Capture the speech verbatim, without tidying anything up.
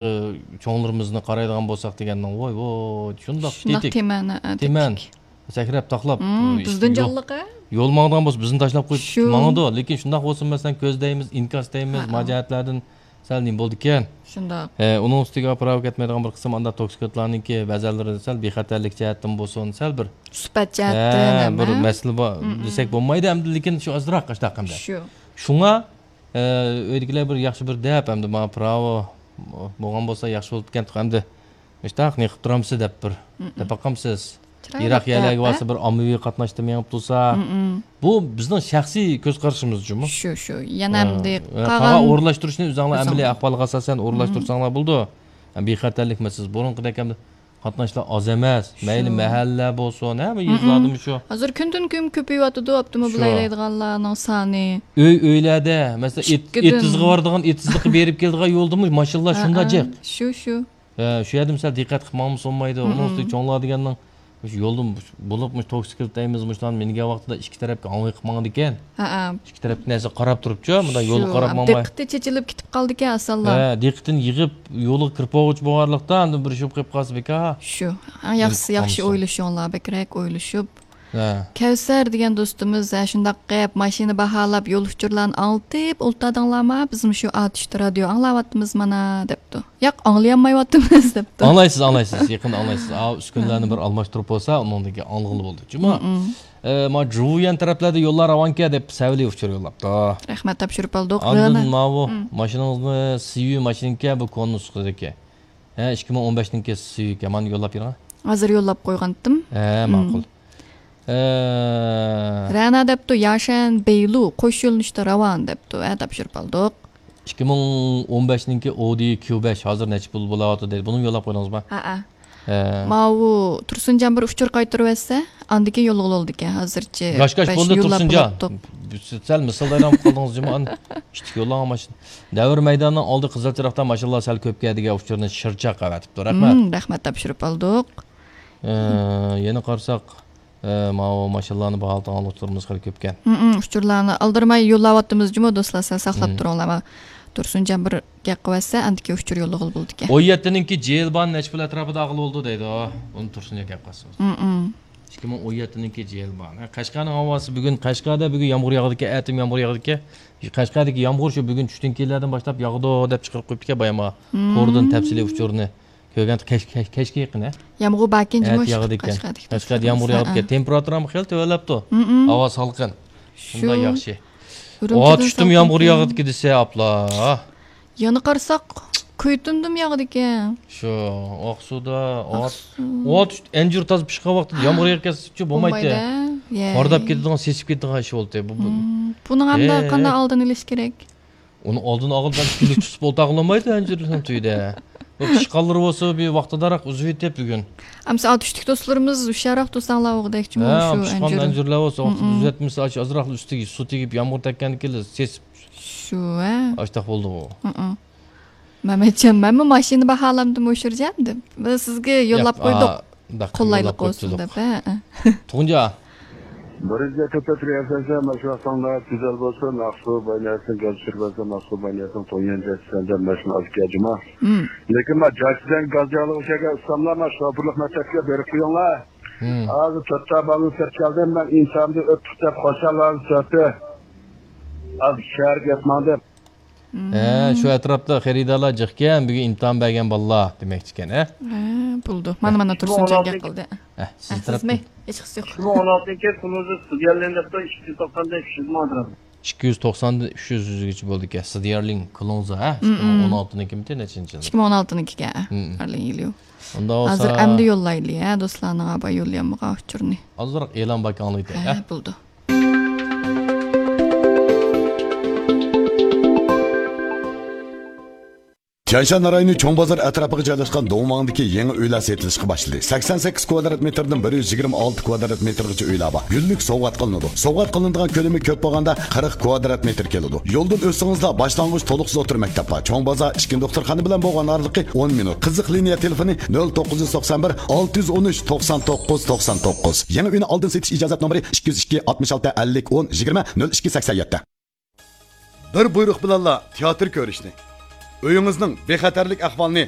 ئى، چوڭلىرىمىزنى قارايدىغان بولساق دېگەننىڭ، ۋوي، ۋوي، شۇنداق شۇنداق تېتىك، تېمەن، ھە، تېمەن. تېتىك. سەكرەپ، تاقلاپ، مم، ئى، بىزدىن يول، جانلىق، ھە؟ يول ماڭىدىغان بولسا، بىزنى تاشلاپ قويۇپ شۇ. ماڭىدۇ. لېكىن شۇنداق بولسىمۇ، مەسىلەن، كۆز دەيمىز، ئىنكاس دەيمىز، ھە، ما ھە. جەھەتلەردىن سەل نېمە بولىدىكەن؟ شۇنداق. ھە، ئۇنىڭ ئۈستىگە پىراۋا كەتمەيدىغان بىر قىسىم ئاندا توكسىكوتلارنىڭكى بەزەنلىرى سەل بىخەتەرلىك جەھەتتىن بولسۇن، سەل بىر، سۈپەت جەھەتتىن ھە، ھەم، بىر ھە؟ مەسىلە بار مم، مم. دېسەك بولمايدۇ ئەمدى، لېكىن شۇ ئازراق قاشتاق ئەمدى. شۇ. شۇڭا، ئە، ئۆيدىكىلەر بىر ياخشى بىر دەپ، ئەمدى ماڭا پىراۋا بولغان بولسا ياخشى بولۇپتىكەن، ئەمدى مۇشتاق نېقىپ تۇرامسىز دەپ بىر مم، مم. دەپ باقامسىز. چىرايلىق يىراق يەرلەرگە دەپ، بارسا ھە؟ بىر ئاممىۋى قاتناشتا مېڭىپ تۇرسا. مم، مم. بۇ بىزنىڭ شەخسىي كۆز قارىشىمىز جۇمۇ. شۇ، شۇ. يەنە ھە، ئەمدى ھە، قالغان قالغان ئورۇنلاشتۇرۇشنى ئۆزۈڭلار ئۆزۈڭ. ئەمەلىي ئەھۋالغا ئاساسەن ئورۇنلاشتۇرساڭلار مم. بولىدۇ. ھە، بىخەتەرلىك مەسىلىسى. بۇرۇنقىدەك ئەمدى قاتناشلار ئاز ئەمەس. مەيلى شۇ. مەھەللە بولسۇن، ھەممە مم، يېزىلاردىمۇ مم. شۇ. ھازىر كۈندىن كۈن كۆپىيىۋاتىدۇ ئاپتوموبىل شۇ. ھەيدەيدىغانلارنىڭ سانى. ئۆي، ئۆيلەردە، مەسىلەن، ئېت-، ئىككىدىن. ئېتىزغا بارىدىغان، ئېتىزلىققا بېرىپ كېلىدىغان يولدىمۇ ماشىنىلار ھە، شۇنداق ھە. جىق. شۇ، شۇ. ھە، شۇ يەردە مىسال دىققەت قىلىپ ماڭمىسا بولمايدۇ. ئۇنىڭ مم. ئۈستىگە چوڭلار دېگەننىڭ مۇشۇ يولدىن بولۇپ، مۇشۇ توكسىكلىت دەيمىز، مۇشۇلارنى مىنگەن ۋاقتىدا ئىككى تەرەپكە ئاڭۋاي قىلىپ ماڭىدىكەن. ھەئە. ئىككى تەرەپكە نەرسە قاراپ تۇرۇپچۇ، مۇنداق يولغا شۇ، قاراپ ماڭماي. دىققىتى چېچىلىپ كېتىپ قالىدىكەن ئاسانلا. ھە، دىققىتىنى يىغىپ، يولغا كىرىپ بولغۇچە بولغانلىقتا، ئاندىن بىر شۇ قىلىپ قالسا بىكار. شۇ. ئەڭ ياخشىسى، ياخشى قالمىسۇن. ئويلىشىڭلار، بەكرەك ئويلىشىپ. ھە. كەۋسەر دېگەن دوستىمىز، ھە، شۇنداق قىلىپ، ماشىنا باھالاپ، يول ئۇچۇرلارنى ئاڭلىتىپ ئولتۇرادىڭلارما؟ بىزمۇ شۇ ئاتۇشتا رادىيو ئاڭلاۋاتىمىز مانا، دەپتۇ. ياق، ئاڭلىيالمايۋاتىمىز، دەپتۇ. ئاڭلايسىز، ئئاڭلايسىز، يېقىندا ئاڭلايسىز. ئا، ئۈسكۈنىلەرنى بىر ئالماشتۇرۇپ بولسا، ئۇنىڭدىن كېيىن ئاڭلىغىلى بولىدۇ. جۇمۇ. مم، مم. ئە، ما جۇۋيەن تەرەپلەردە يوللار راۋانكەن دەپ سەۋلى ئۇچۇر يوللاپتۇ. رەھمەت، تاپشۇرۇپ ئالدۇق. ئاندىن رېنا. ماۋۇ مم. ماشىنىڭىزنى سىيۈ ماشىنىكەن، بۇ كونا نۇسخىدىكى. ھە، ئىككى مىڭ ئون بەشنىڭكى سىيۈكەن. مانا يوللاپ بېرىڭ. ھازىر يوللاپ قويغانتىم. ھە، مم. ماقۇل. ئە، رەنا دەپتۇ، ياشەن بەيلۇ قوش يۆنىلىشتە راۋان دەپتۇ. ھە، تاپشۇرۇپ ئالدۇق. ئىككى مىڭ ئون بەشنىڭكى ئودى كيۇ بەش ھازىر نەچچە پۇل بولاۋاتىدۇ دەيدۇ. بۇنىمۇ يوللاپ قويدىڭىزمۇ؟ ھەئە. ھە. ماۋۇ تۇرسۇنجان بىر ئۇچۇر قايتۇرۇۋەتسە، ئاندىن كېيىن يوللىغىلى بولىدىكەن. ھازىرچە گاش گاش بەش بولدى يوللاپ تۇرسۇنجان. بولۇپتۇق. سەل مىسالدايرام قىلدىڭىز جۇمۇ، ئان ئىتتىك يوللىغان ماشىنا. دەۋر مەيدانىنىڭ ئالدى قىزىل چىراغدا ماشىنىلار سەل كۆپ كەلدىگەن ئۇچۇرنى شىرچاق ئەۋەتىپتۇ. رەھمەت. مم، رەھمەت، تاپشۇرۇپ ئالدۇق. ئە، يەنە قارىساق، ئە، ماۋۇ ماشىنىلارنى باھالىتىدىغان ئۇچۇرىمىز خېلى كۆپكەن. مم، مم، ئۇچۇرلارنى ئالدىرىماي يوللاۋاتىمىز جۇمۇ دوستلار، سەل ساقلاپ مم. تۇرۇڭلار. تۇرسۇنجان بىر گەپ قىلىۋەتسە، ئاندىكى ئۇچۇر يوللىغىلى بولىدىكەن. ئون يەتتىنىڭكى جېيىل بان نەچچە پۇل ئەتراپىدا ئاغىلى بولىدۇ دەيدۇ. ئۇنى تۇرسۇنجان گەپ قىلسا. مم، مم. ئىككى مىڭ ئون يەتتىنىڭكى جېيىل بان. ھە، قەشقەرنىڭ ھاۋاسى بۈگۈن، قەشقەردە بۈگۈن يامغۇر ياغىدىكەن، ئەتىم يامغۇر ياغىدىكەن. قەشقەردىكى يامغۇر شۇ بۈگۈن چۈشتىن كېيىنلەردىن باشلاپ ياغىدۇ دەپ چىقىرىپ قويۇپتىكەن بايام. مم. توردىن تەپسىلىي ئۇچۇرنى كۆرگەن كەچ-، كەچ-، كەچكە يېقىن، ھە؟ يامغۇر باركەن جۇمۇ ئەتە ياغىدىكەن. قەشقەردىكى قەشقەردە يامغۇر ياغىدىكەن. ھە. تېمپېراتۇرامۇ خېلى تۆۋەنلەپتۇ. مم، مم. ھاۋا سالقىن. شۇنداق ياخشى. ئۇرۇمچىدىن ئاتۇشتىمۇ سالقىن يامغۇر ياغىدىكەن دېسە، ئاپلا. يەنە قارىساق، كۈيتۇندىمۇ ياغىدىكەن. شۇ، ئاقسۇدا، ئات-، ئاقسۇ. ئات ئەنجۈر تازا پىشقان ۋاقتىدا يامغۇر يېغىپ كەتسە بولمايتتى. بولمايدۇ، يە. قارىداپ كېتىدىغان، سېسىپ كېتىدىغان ئىش بولدى. بۇ، بۇ. مم. بۇنىڭ ئەمدى ھە. قانداق ئالدىنى ئېلىش كېرەك؟ ئۇنى ئالدىنى ئالغىلى بەلكى كۈنلۈك تۇتۇپ ئولتۇرغىلى بولمايدۇ ئەنجۈرنىڭ تۈۋىدە. بۇ پىشقانلىرى بولسا بىر ۋاقتىداراق ئۈزۈۋېتىپ بۈگۈن. ئەمسە ئاتۇشتىكى دوستلىرىمىز ھوشيارراق تۇرساڭلار ئۇغىدەك جۇمۇ ھە، شۇ پىشقان ئەنجۈر. ئەنجۈرلەر بولسا ۋاقتىدا مم، مم. ئۈزۈۋەتمىسە، ئاز-، ئازراق ئۈستىگە سۇ تېگىپ يامغۇر تەگكەندىن كېيىن سېسىپ شۇ، ھە؟ ئاشتاق بولدى بۇ. ھىم. مەمەتجان، مەنمۇ ماشىنا باھالامدىم ئۇچۇرجان دەپ. بىز سىزگە يوللاپ قويدۇق. قولايلىق بولسۇن دەپ، ھە. تۇغۇنجان. بىرىنچى ئەترەتتە تۇرۇۋاتىسەن، مانا شۇ ۋاقتىڭدا گۈزەل بولسۇن، ئاقسۇ باينىياسىنىڭ گاز چۈشۈرۈپ بەرسەم، ئاقسۇ باينىياسىنىڭ تويۇن جەچسەن دەپ ماشىنا ئالىپ كەل جۇما. ھىم. لېكىن ما جاچىدىن گاز ياغلىغۇچەرگە ئۇستاملار ما شوپۇرلۇق مەكتەپكە بېرىپ قويۇڭلار. ھىم. ھازىر تۆتتا بالىنى سېلىپ كەلدىم، مەن ئىمتىھاندىن ئۆتتۇق دەپ خۇشاللانسا ئۆتتى. ھازىر شەھەرگە كەپ ماڭدىم. ھە، شۇ ئەتراپتا خېرىدارلار جىقكەن، بۈگۈن ئىمتىھان بەرگەن بالىلار دېمەكچىكەن، ھە؟ ھە، بولىدۇ. مانا، مانا تۇرسۇنجان گەپ قىلدى. ھە، سىز تەرەپتىن. ئىككى مىڭ ئون ئالتىنچى يىل كۇلۇزى ستۇدېنتلىق دەپتۇ، ئىككى يۈز توقسان بەش، ئۈچ يۈز ماڭدىم. ئىككى يۈز توقساندىن ئۈچ يۈز يۈزگىچە بولىدىكەن. ستۇدېنتلىق كۇلۇزى، ھە؟ ئىككى مىڭ ئون ئالتىنىڭكىمىتى نەچچىنچى يىل؟ ئىككى مىڭ ئون ئالتىنىڭكىكەن، ھە. ئارلىن يىلى. ئۇنداق بولسا ھازىر ئەمدى يوللايلى، ھە، دوستلارنىڭ ئابا يوللىيالمىغان ئۇچۇرنى. ئازراق ئېلان باكاڭلىتى، ھە، ھە؟ بولىدۇ. تيەنشان رايونى چوڭ بازار ئەتراپىغا جايلاشقان دوڭماڭدىكى يېڭى ئۆيلەر سېتىلىشقا باشلىدى. سەكسەن سەككىز كۋادرات مېتىردىن بىر يۈز يىگىرمە ئالتە كۋادرات مېتىرغىچە ئۆيلەر بار. گۈللۈك سوۋغات قىلىنىدۇ. سوۋغات قىلىنىدىغان كۆلىمى كۆپ بولغاندا قىرىق كۋادرات مېتىر كېلىدۇ. يولدىن ئۆتسىڭىزلا باشلانغۇچ تولۇقسىز ئوتتۇرا مەكتەپ بار. چوڭ بازار ئىككىنچى دوختۇرخانا بىلەن بولغان ئارىلىقى ئون مىنۇت. قىزىق لىنىيە تېلېفونى نۆل توققۇز يۈز توقسان بىر، ئالتە يۈز ئون ئۈچ، توقسان توققۇز، توقسان توققۇز. يېڭى ئۆينى ئالدىن سېتىش ئىجازەت نومۇرى ئىككى يۈز ئىككى، ئاتمىش ئالتە، ئەللىك، ئون، يىگىرمە، نۆل ئىككى، سەكسەن يەتتە. بىر بۇيرۇق بىلەنلا تىياتىر كۆرۈشنى، ئۆيىڭىزنىڭ بىخەتەرلىك ئەھۋالىنى